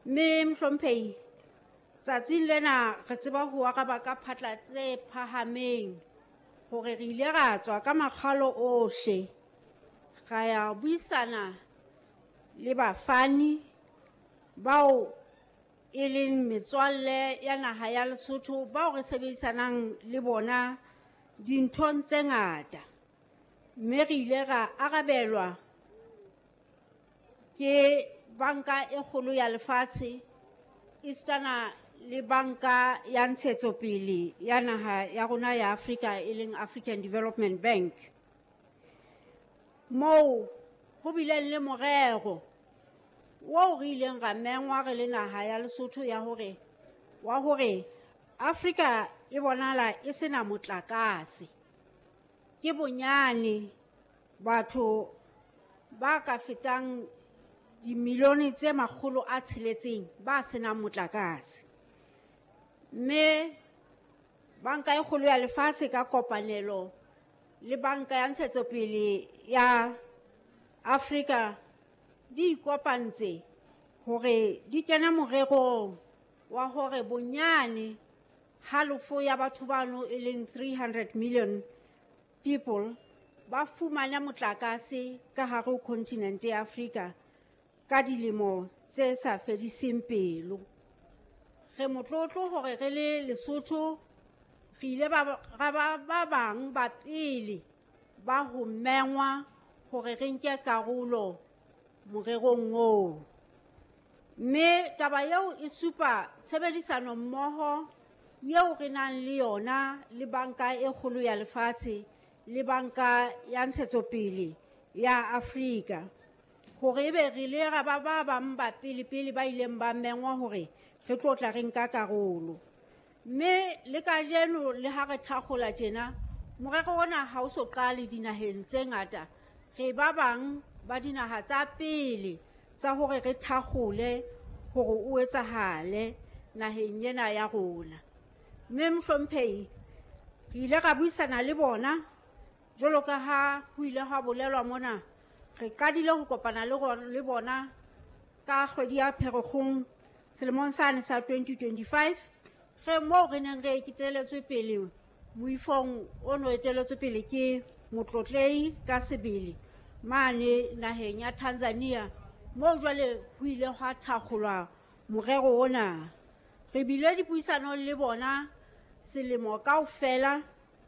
Mme Mohlomphehi, tsatsing lena re tseba ho araba ka phatla tse phahameng hore re ile ra tswa ka makgalo ohle, ra ya buisana le bafani bao e leng metswalle ya naha ya Lesotho bao re sebedisanang le bona dinthong tse ngata. Mme re ile ra arabelwa ke banka e kgolo ya lefatshe esitana le banka ya ntshetsopele ya naha ya rona ya Afrika, e leng African Development Bank. Moo ho bileng le morero oo re ileng ra mengwa re le naha ya Lesotho ya hore wa hore Afrika e bonahala e sena motlakase. Ke bonyane batho ba ka fetang dimilione tse 600 ba senang motlakase. Mme banka e kgolo ya lefatshe ka kopanelo le banka ya ntshetsopele ya Afrika di ikopantse hore di kene morerong wa hore bonyane halofo ya batho bano, e leng 300 million people, ba fumane motlakase ka hare ho continent ya Afrika ka dilemo tse sa fediseng pelo. Re motlotlo hore re le Lesotho re ile ba ba bang ba pele ba ho mengwa hore re nke karolo morerong oo. Mme taba eo e supa tshebedisano mmoho eo re nang le yona le banka e kgolo ya lefatshe le banka ya ntshetsopele ya Afrika, hore ebe re ile ra ba ba bang ba pele pele ba ileng ba mengwa hore re tlo tla re nka karolo. Mme le kajeno le ha re thakgola tjena, morero ona ha o so qale dinaheng tse ngata. Re ba bang ba dinaha tsa pele tsa hore re thakgole hore o etsahale naheng ena ya rona. Mme Mohlomphehi, re ile ra buisana le bona jwalo ka ha ho ile ha bolelwa mona. Re qadile ho kopana le bona ka kgwedi ya Pherekgong selemong sane sa 2025, re moo re neng re eteletswe pele moifong o no eteletswe pele ke motlotlehi ka sebele mane naheng ya Tanzania, moo jwale ho ile hwa thakgolwa morero ona. Re bile dipuisanong le bona selemo kaofela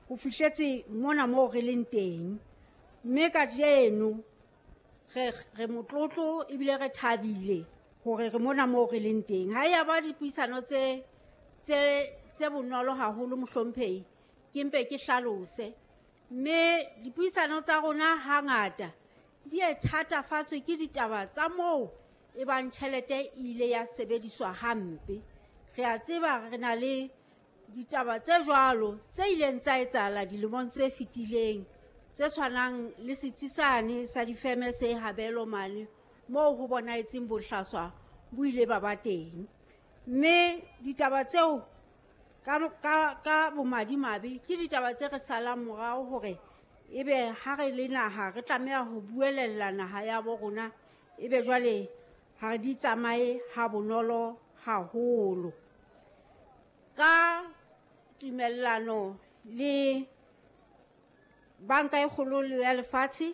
ho fihletse mona moo re leng teng. Mme kajeno re motlotlo ebile re thabile hore re mona moo re leng teng. Ha ya ba dipuisano tse bonolo haholo Mohlomphehi, ke mpe ke hlalose. Mme dipuisano tsa rona hangata di e thatafatswe ke ditaba tsa moo e bang tjhelete e ile ya sebediswa hampe. Re a tseba re na le ditaba tse jwalo tse ileng tsa etsahala dilemong tse fetileng, tse tshwanang le setsi sane sa difeme se Habelo mane, moo ho bonahetseng bohlaswa bo ile ba ba teng. Mme ditaba tseo ka bomadimabe ke ditaba tse re salang morao hore ebe ha re le naha re tlameha ho buelella naha ya bo rona, ebe jwale ha di tsamaye ha bonolo haholo. Ka tumellano le banka e kgolo ya lefatshe,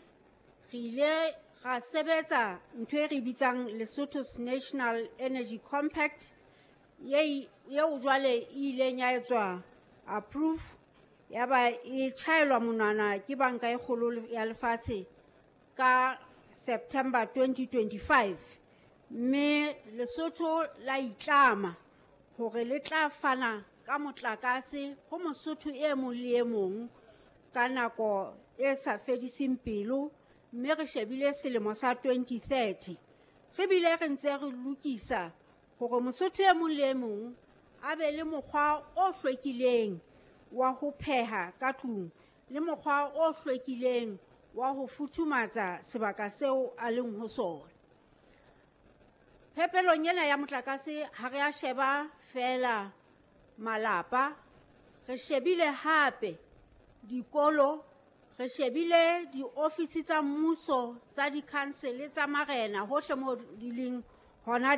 re ile ra sebetsa ntho e re bitsang Lesotho's National Energy Compact, yeo jwale e ileng ya etswa approve, ya ba e tjhaelwa monwana ke banka e kgolo ya lefatshe ka September 2025. Mme Lesotho la itlama hore le tla fana ka motlakase ho Mosotho e mong le e mong ka nako e sa fediseng pelo, mme re shebile selemo sa 2030. Re bile re ntse re lokisa hore Mosotho e mong le e mong a be le mokgwa o hlwekileng wa ho pheha ka tlung le mokgwa o hlwekileng wa ho futhumatsa sebaka seo a leng ho sona. Phepelong ena ya motlakase ha re a sheba feela malapa, re shebile hape dikolo, re shebile diofisi tsa mmuso, tsa di-council, tsa marena hohle moo di leng hona.